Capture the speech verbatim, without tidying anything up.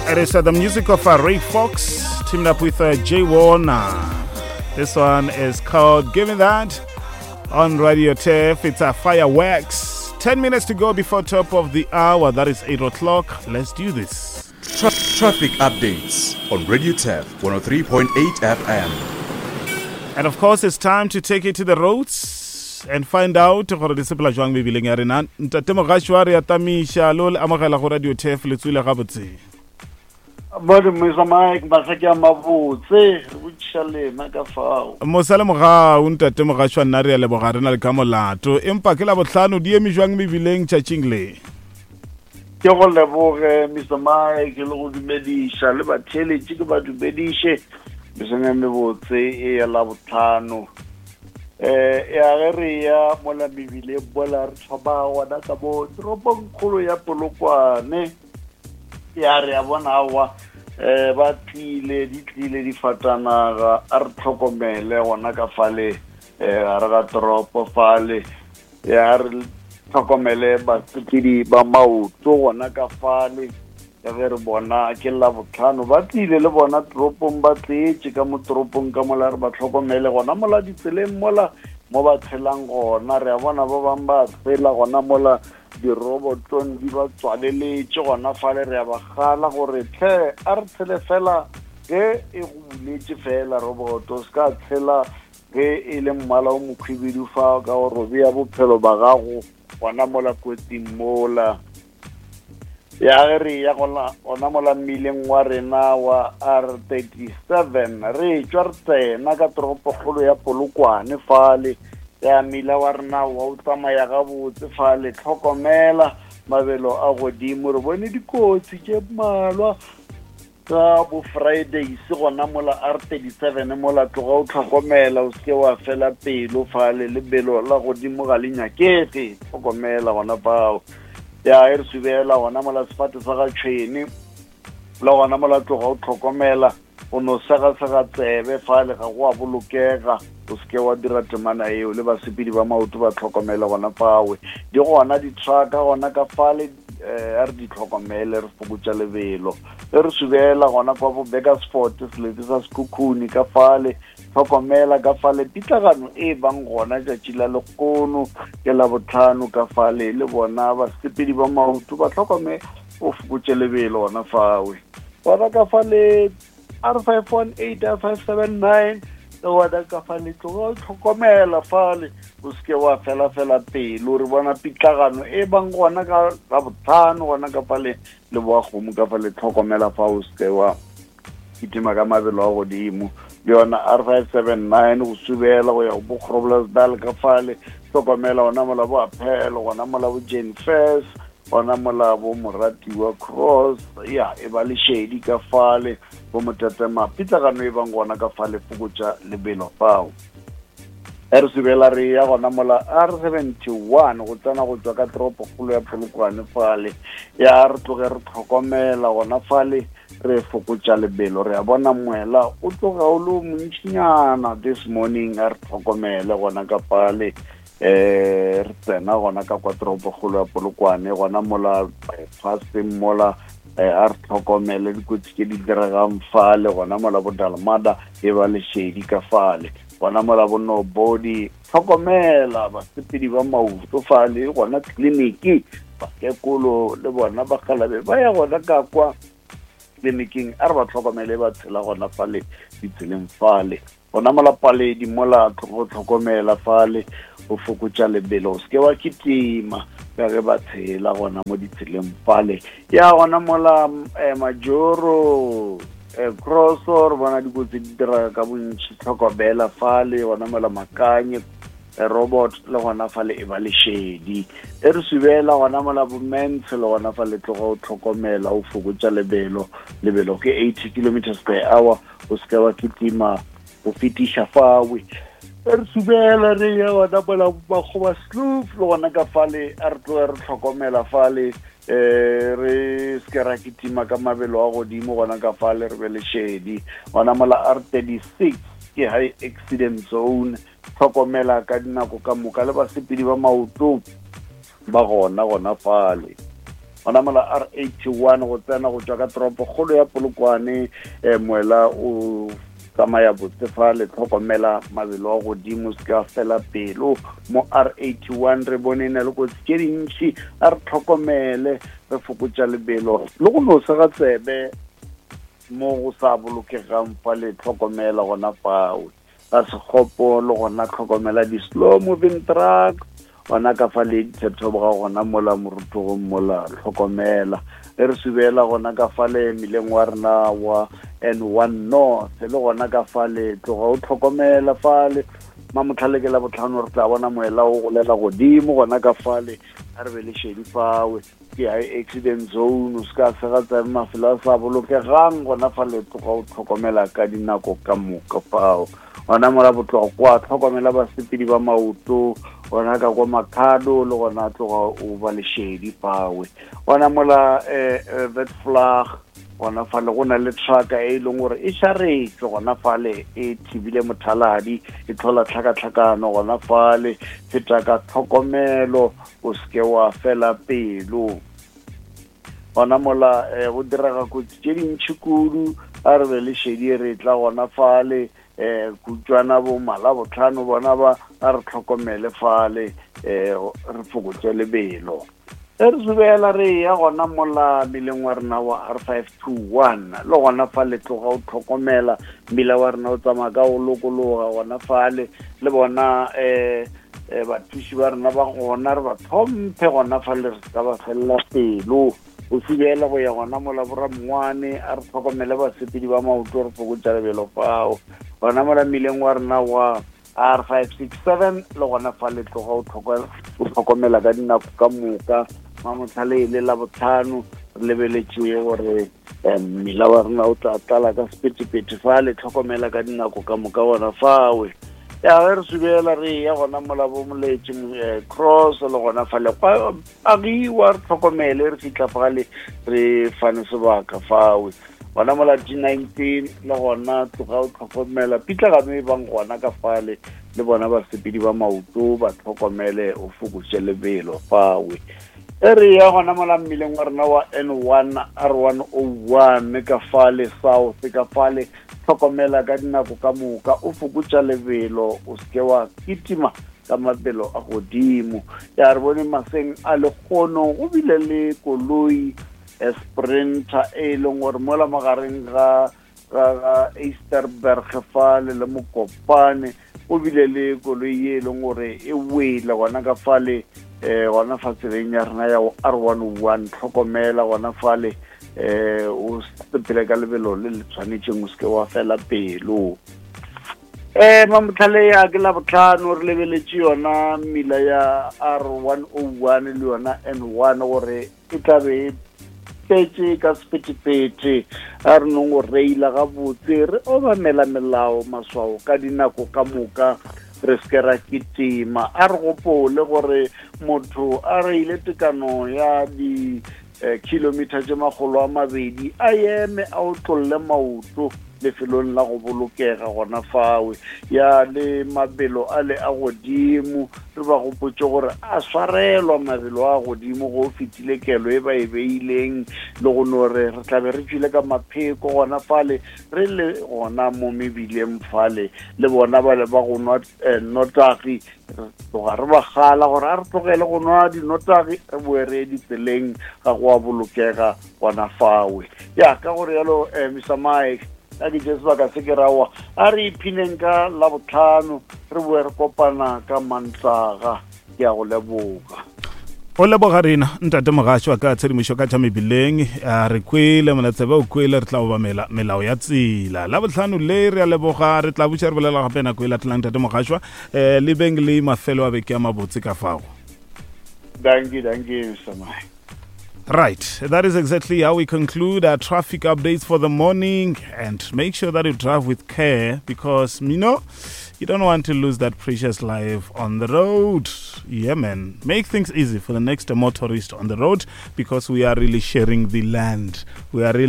It is uh, the music of uh, Ray Fox teamed up with uh, Jay Warner. This one is called Give Me That on Radio Turf. It's a fireworks. ten minutes to go before top of the hour. That is eight o'clock. Let's do this. Tra- traffic updates on Radio Turf one oh three point eight F M. And of course, it's time to take it to the roads and find out gore di sepela jwang mebileng ya rena. Ntate Mogashoa wa re atamiša lo le amogela go Radio Turf le tswile gabotse. Bode Mister Mike, masaki a mabotse, re botšiša lena ka fao. Mosale mogau ntate Mogashoa nna re a leboga re na le ka molato. Empa ke la bohlano di eme jwang mebileng tšatšing le? Ke go leboge Mister Mike le go dumediša le batheeletši ke ba dumediše mesong e mebotse e ya la bohlano. Eh ya ge re ya mola mebileng mola re thoma gona ka mo toropongkgolo ya Polokwane. Ya re a bona aowa, eh, ba tlile, di tlile difatanaga, a re tlhokomele gona ka fale, eh, gare ga toropo fale. Ya re tlhokomele basepedi ba maoto gona ka fale. Ya ge re bona ke la bohlano, ba tlile le bona toropong, ba tletše ka mo toropong ka mola, re ba tlhokomele gona mola ditseleng mola mo ba tshelang gona. Re a bona ba bang ba tshela gona mola dirobotong di ba tswaleletše gona fale. Re a ba kgala gore tlhe a re tshele fela ge e go buletše fela roboto, se ka tshela ge e le mmala o mokhwibidu fa ka gore o bea bophelo ba gago gona mola kotsing mola. Ya ge re ya gona, gona mola mmileng wa rena wa R thirty-seven, re tšwa re tsena ka toropokgolo ya Polokwane fale. Ya mmila wa rena wa o tsamaya gabotse fale, tlhokomela mabelo a godimo. Re bone dikotsi tše mmalwa ka bo Fridays gona mola R thirty-seven mola, tloga o tlhokomela, o seke wa fela pelo fale, lebelo la godimo ga le nyakege, tlhokomela gona fao. Ya e re subela gona mola sefate sa ga tšhwene le gona mola, tloga o tlhokomela, o no segasega tsebe fale, ga go a bolokega, o seke wa dira temana eo. Le basepedi ba maoto ba tlhokomele gona fawe. Di gona di-trucka gona ka fale, eh, a re di tlhokomele, re fokotša lebelo. E re subela gona kwa bo Burgersfort, selete sa Sekhukhune ka fale, tlhokomela ka fale. Pitlagano e bang gona tšatši la lekono ke la bohlano ka fale, le bona basepedi ba maoto ba tlhokomele, o fokotše lebelo gona fawe. Gona ka fale R five one eight, R five seven nine, le gona ka fale tloga o tlhokomela fale, o seke wa fela fela pelo. Re bona pitlagano e bang gona ka la bohlano gona ka fale le boa kgomo ka fale, tlhokomela fa o seke wa kitima ka mabelo a godimo. Le yona R five seven nine go subela go ya go bo Groblersdal ka fale, tlhokomela gona mola bo Appel, gona mola bo Jane Furse, gona mola bo Moratiwa Cross, ya e ba lešedi ka fale, bo Motetema. Pitlagano e bang gona ka fale, fokotša lebelo fao. E re subela re ya gona mola R seventy-one go tsena go tšwa ka toropokgolo ya Polokwane fale. Ya re tloge re tlhokomela gona fale, re fokotša lebelo. Re a bona moela o tloga o le o montšinyana this morning, a re tlhokomele gona ka fale. Eh, re tsena gona ka kwa toropokgolo ya Polokwane gona mola bypasseng mola, eh, a re tlhokomele dikotsi tše di diregang fale gona mola bo Dalmada e ba lešedi ka fale, gona mola bo Nobody, tlhokomela basepedi ba maoto fale gona tleliniki, bakekolo le bona bakgalabe ba ya gona ka kwa tleliniking, a re ba tlhokomele ba tshela gona fale ditseleng fale. Gona mola paledi mola go tlhokomela fale, o fokotša lebelo, o seke wa kitima ka ge ba tshela gona mo ditseleng fale. Ya gona mola, eh, Majoro, eh, Crosso, re bona dikotsi di dira ka bontši, tlhokomela fale gona mola Makanye, eh, robot le gona fale e ba lešedi. E re subela gona mola bo Mens le gona fale, tloga o tlhokomela, o fokotša lebelo. Lebelo ke eighty kilometers per hour, o seke wa kitima o fetiša fawe. E re subela re ya gona mola Makgoba Sloof le gona ka fale, a re tloge re tlhokomela fale, eh, re seke ra kitima ka mabelo a godimo gona ka fale, re be lešedi. Gona mola R thirty-six ke high accident zone, tlhokomela ka dinako ka moka le basepedi ba maoto ba gona gona fale. Gona mola R eighty one go tsena go tšwa ka toropo kgolo ya Polokwane, um moela o tsamaya botse fale, tlhokomela mabelo a godimo, se ka fela pelo. Mo R eighty one re bone na le kotsi tše dintši, a re tlhokomele, re fokotša lebelo le go no sega tsebe mo go sa bolokegang fale, tlhokomela gona fao. Ga Sekgopo le gona tlhokomela di-slow moving truck gona ka fa le dithethoboga gona mola morutogong mola, tlhokomela. E re subela gona ka fale mmileng wa rena wa N one North, le gona ka fale tloga o tlhokomela fale. Mamotlhale ke la botlhano re tla bona moela o golela godimo gona ka fale, a re be le šedi fawe. Ke high accident zone, o se ka sega tsebe mafelo a sa bolokegang gona fale, tloga o tlhokomela ka dinako ka moka fao. Gona mola botlokwa, tlhokomela basepedi ba maoto gona ka kwa Makhado, le gona tloga o ba le šedi fawe. Gona mola um Witvlag gona fale go na le trucka e leng gore e šaretšwe gona fale, e thibile mothaladi, e tlhola tlhakatlhakano gona fale. Feta ka tlhokomelo, o seke wa fela pelo. Gona mola um go direga kotsi tše dintšhi kudu, a re be le šedi re tla gona fale. Um kutšwana bo Malabotlhano bona ba, a re tlhokomele fale, um re fokotše lebelo. E re subela re ya gona mola mmileng wa rena wa R five two one, le gona fale tloga o tlhokomela mmila wa rena o tsamaya ka go lokologa gona fale. Le bona um bathuši ba rena ba gona re ba tlhomphe gona fale, re ka ba felela pelo. O subela go ya gona mola boramongwane, a re tlhokomele basepedi ba maoto, re fokotša lebelo fao. Gona mola mmileng wa rena wa R five six seven, le gona fale tloga o tlhokomela ka dinako ka moka. Mamotlhale e le la botlhano re lebeletše gore mmila wa rena o tla tlala ka sephethephethe fale, tlhokomela ka dinako ka moka gona fawe. Ya ge re subela re ya gona mola bo Moletše Cross, le gona fale agiwa, re tlhokomele re fihla fale re fane sebaka fawe. Gona mola G nineteen le gona tloga o tlhokomela pitlagano e bang gona ka fale, le bona basepedi ba maoto ba tlhokomele, o fokotše lebelo fawe. E re ya gona mola mmileng wa rena wa N one R one oh one ka fale south ka fale, tlhokomela ka dinako ka moka, o fokotša lebelo, o seke wa kitima ka mabelo a godimo. Ya re bone maseng a lekgono go bile le koloi Sprinter e leng gore mola magareng ga ga Easterberg fale le Mokopane, go bile le koloi e leng gore e wele gona ka fale um gona fa tseleng ya rena ya R one oh one. Tlhokomela gona fale, um o sepele ka lebelo le le tshwanetšeng, o seke wa fela pelo. Um mamotlhale ya ke la botlhano re lebeletše yona mmila ya R one oh one le yona N one gore e tla be e tletše ka sephethephethe. A re nong go reila gabotse, re obamela melao maswao ka dinako ka moka, re seke ra kitima. A re gopole gore motho a reile tekano ya di kilometer tše makgolo a mabedi, a eme a otlolle maoto lefelong la go bolokega gona fawe. Ya le mabelo a le a godimo, re ba gopotše gore a swarelwa mabelo a godimo go fetile kelo e ba e beileng, le go no re re tla be re tšwile ka mapheko gona fale, re le gona mo mebileng fale. Le bona bale ba go nwa nnotagi, re tloga re ba kgala gore a re tlogele go nwa dinotagi, re boe re ye ditseleng, ga go a bolokega gona fawe. Ya ka gore yalo um Mister Mike, a ke tše sebaka se ke rawa, a re iphineng ka Labotlhano, re boe re kopana ka Mantaga. Ke a go leboga. O leboga rena ntate Mogašwa ka tshedimošo ka tša mebileng. A re kwele molatsebe o kwele, re tla obamela melao ya tsela. Labotlhano le re a leboga, re tla buša re bolela gape nako e latelang ntate Mogašwa. Um le beng le mafelo a beke a mabotse ka fao. Dankie, dankie Mister Mike. Right, that is exactly how we conclude our traffic updates for the morning. And make sure that you drive with care, because, you know, you don't want to lose that precious life on the road. Yeah, man. Make things easy for the next motorist on the road, because we are really sharing the land. We are really